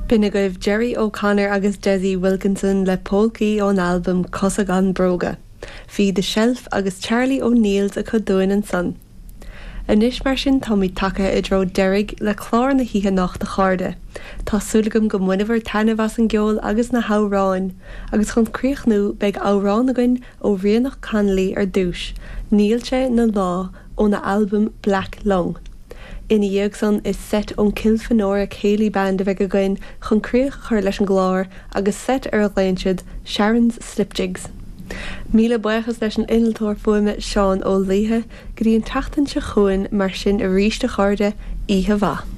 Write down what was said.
B'in agaibh Gerry O'Connor agus Dessie Wilkinson le Polcaí ón albam Cosa Gan Bróga. Bhí The Shelf agus Charlie O'Neill's acu dúinn ansan. Anois mar sin táimid tagtha i dtreo deiridh le clár na hoíche anocht a chairde. Tá súil agam go mbaineabhair taitneamh as an gceol agus na hamhráin. Agus chun críochnú beidh amhrán againn ó Ríonach Connolly ar dtús, Níl sé 'na lá óna albam Black Lung. Ina dhiaidh san is seit ón Kilfenora Céilí Band a bheidh againn chun críoch a chur leis an gclár agus seit ar a ghlaonn siad Sharon's Slip Jigs. Míle buíochas leis an innealtóir fuaime Seán Ó Laoithe. Go dtí an tseachtain seo chugainn mar sin arís a chairde, oíche mhaith.